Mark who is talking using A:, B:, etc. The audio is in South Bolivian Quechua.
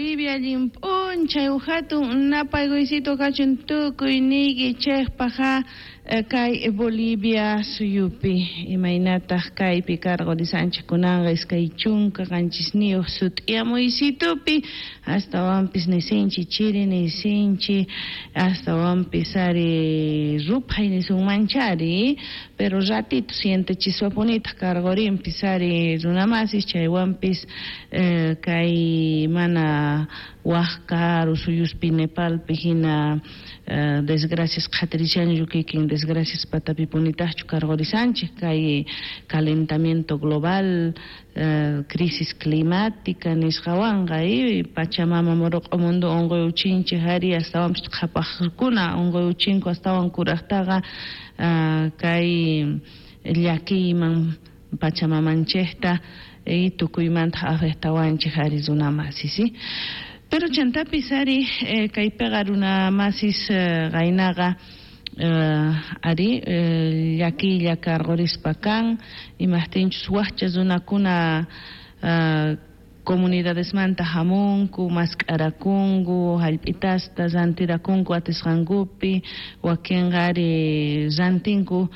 A: Bolivia, allin p'unchay hatun napaykuysito kachun tukuyniykichejpaj kay Bolivia suyupi imaynataq kaypi karqurisanchik kunanqa 27 sut'iyamuysitupi astawanpis nisinchi chiri nisinchi astawanpis ari ruphay nisunmanchari pero ratito sientechiswapunitaq karqurinpis ari runamasis chaywanpis kay mana waj karu suyuspi Nepalpi hina desgracias qhatirishanchu kikin desgracias patapipunitaqchu karqurisanchik kay calentamiento global, crisis climática nisqawanqa Pachamama muruq'u mundo unquyuchinchik ari astawanpis qhapaqkuna unquyuchinku astawan kuraqtaqa kay llakiyman Pachamamanchikta tukuymanta afectawanchik ari runamasis. Pero chantapis ari kaypiqa runamasis qaynaqa ari llakiylla karqurispa kan imajtinchus wajcha runakuna comunidadesmanta hamunku mask'arakunku hallp'itasta rantirakunku atisqankupi wakinqa ari rantinku.